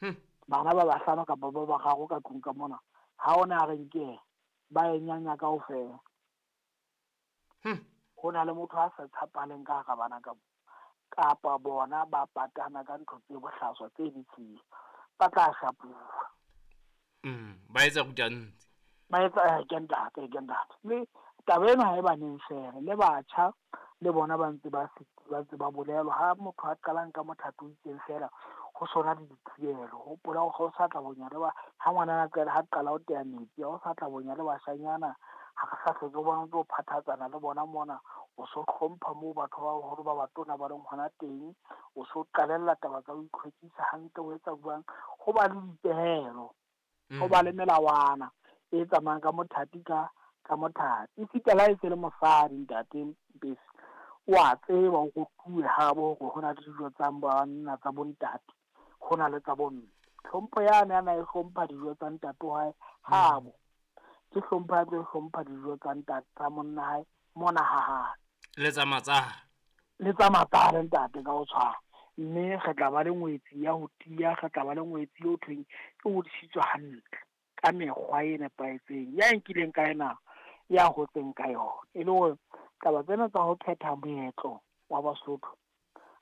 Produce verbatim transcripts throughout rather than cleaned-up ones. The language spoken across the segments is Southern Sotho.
Hmm. Bana ba bahlano kapa ba bararo ka tlung ka mona, ha ona a reng ke ba e nyanya kaofela. Hmm. Ho na le motho a sa tshepaleng ka hara bana ka kapa bona ba patana ka ntho tse bohlaswa tse ditshila, ba tla shapuwa. Mm, ba etsa rutantsi. Ba etsa eh, ke ntate, ke ntate. Le taba ena ha e baneng fela, le batjha le bona ba ntse ba ba ntse ba bolelwa. Ha motho a qalang ka mothato o itseng fela, ho sona le dithibelo. Hopola hore ha o sa tla bonya le ba, ha ngwana a qala, ha qala ho teya metsi, ha o sa tla bonya le bashanyana, ha re sa hlotse o bona o ntso phathatsana le bona mona, o so hlompha moo batho ba baholo ba batona ba leng hona teng, o so qalella taba tsa ho itlhwekisa hantle, o etsa jwang, ho ba le dipehelo, ho ba le melawana e tsamayang ka mothati ka, ka mothati. Esita le ha e se le mosadi ntate Mpesi, wa tseba o rutuwe habo hore ho na le dijo tsa banna tsa bontate, ho na le tsa bomme. Hlompho yane a na e hlompha dijo tsa ntate wa hae habo, ke hlompho ya tlo hlompha dijo tsa ntate tsa monna hae mona ha hae. Le tsa matsaha. Le tsa matsaha ntate ka ho tshwana. Mme re tla ba le ngwetsi ya ho tiya, re tla ba le ngwetsi eo thweng e hodisitswe hantle ka mekgwa e nepahetseng, ya nkileng ka ena ya hotseng ka yona. E le hore taba tsena tsa ho phetha moetlo wa Basotho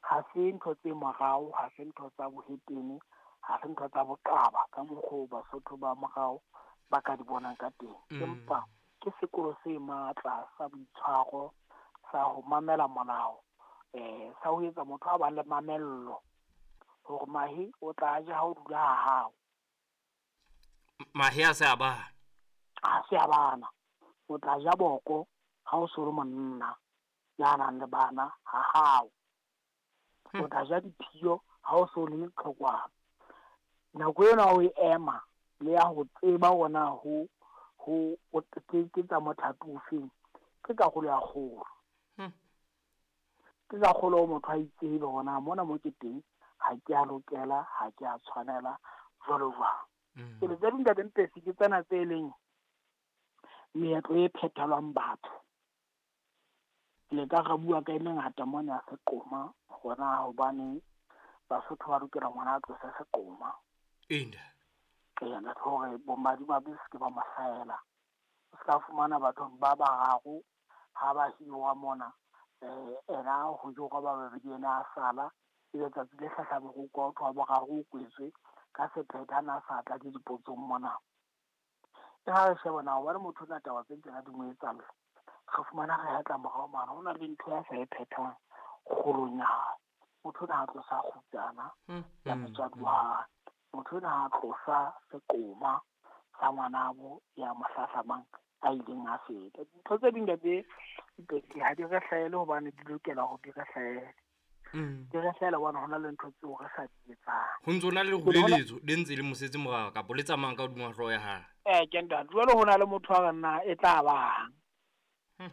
ha se ntho tse morao, ha se ntho tsa bohetene, ha se ntho tsa boqaba ka mokgwa Basotho ba morao ba ka di bonang ka teng. Mm. Empa ke sekolo se matla sa boitshwaro, sa ho mamela molao, eh, sa ho etsa motho a bang le mamello hore mahe o tla ja ha o dula ha hao. Mahe a se a bana. A se a bana. O tla ja boko ha o so le monna ya nang le bana ha hao. O tla ja diphiyo ha o so le leqhekwana. Nako ena o e ema le ya ho tseba hore na ho, ho, o ke, ke tsa mothato ofeng, ke karolo ya kgolo. Hmm. Ke ka kgolo hore motho a itsebe hore na mona mo ke teng ha ke a lokela, ha ke a tshwanela, jwalo jwalo. Mm. Pele tse ding ntate Mpesi ke tsena tse leng meetlo e phethelwang batho. Le ka re bua ka e mengata mona ya seqoma, hore na hobane Basotho ba lokela ngwana a tlose seqoma. Enda. Ee, ntate, hore bomadimabe se ke ba mo hlahela. O ska fumana batho ba bararo ha ba hiwa mona, eh, ena ho jowa ba babedi, ena a sala, ebe tsatsi le hlahlamang ho utlwa ho thwe wa boraro o kwetswe ka sephetho, ha na sa tla le dipotsong mona. E ha re sheba na hobane motho ona taba tse tsena di mo etsahalla, re fumana re hetla morao mane, ho na le ntho ya sa e phethang kgolong ya hae. Motho ona ha tlosa kgutsana Hmm. ya motswadi wa hae, motho ona ha tlosa seqoma sa ngwanabo ya mo hlahlamang a ileng a feta. Dintho tse ding ntate Mpesi ha di re hlahele hobane di lokela hore di re hlahele. Mm. Di re hlahela hobane hona le ntho tseo re sa di etsang. Ho ntso na le leruleletso le ntse le mosetse morao kapa le tsamayang ka hodima hlooho ya hae. Eh, ke ntate, jwale ho na le motho a re nna e tla bang. Hmm.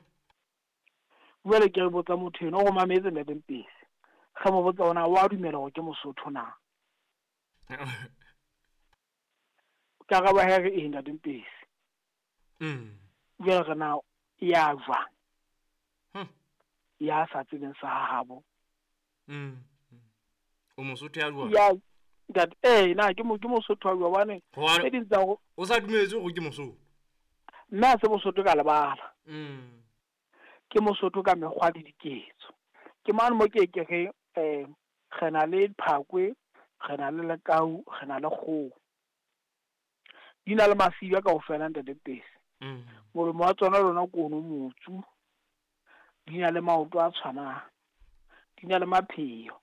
Jwale ke re botsa motho eno, o re mametse ntate Mpesi. Re mo botsa hore na wa dumela hore ke Mosotho na? Karabo ya hae re eng ntate Mpesi? Mm. Jwale re na ya jwang? Hmm. Ya sa tsebeng sa habo. Mm. O Mosotho ya jwang? Ya ntate, eh, na ke mo, ke Mosotho wa jwang? Hobane Hobane tse ding tsa ho o sa dumetse hore ke Mosotho. Nna ha se Mosotho ka lebala. Mm. Ke Mosotho ka mekgwa le diketso. Ke mane mo ke ke re, eh, re na le phakwe, re na le lekau, re na le kgoho. Di na le masiba kaofela ntate Mpesi. Mm. Molomo wa tsona lona ke ono motsu. Di na le maoto a tshwanang. Di na le mapheo.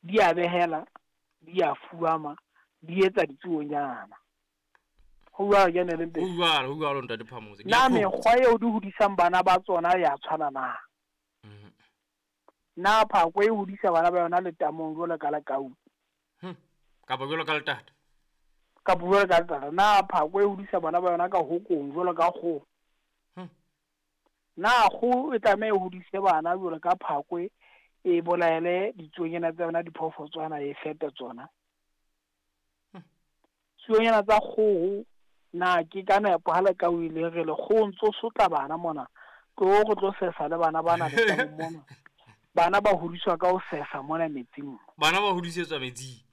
Di a behela, di a fuama, di etsa ditsuonyana. Ho jwalo ke ne le Mpesi. Ho jwalo, ho jwalo ntate Phamotse. Ke Na a mekgwa eo di hodisang bana ba tsona ya tshwana na? Mm. Na phakwe e hodisa bana ba yona letamong jwalo ka lekau? Hmm. Kapa jwalo ka letata? Kapa jwalo ka letata. Na phakwe e hodisa bana ba yona ka hokong jwalo ka kgoho? Hmm. Na kgoho e tlameha e hodise bana jwalo ka phakwe, e bolaele ditsuonyana tsa yona, diphoofotswana, e fepe tsona? Hmm. Tsuonyana tsa kgoho, na ke ka nepo ha lekau ile re le kgoho ntso sotla bana mona, tlo re tlo sesa le bana bana letamong mona. Bana ba hodiswa ka ho sesa mona metsing. Bana ba hodisetswa metsing.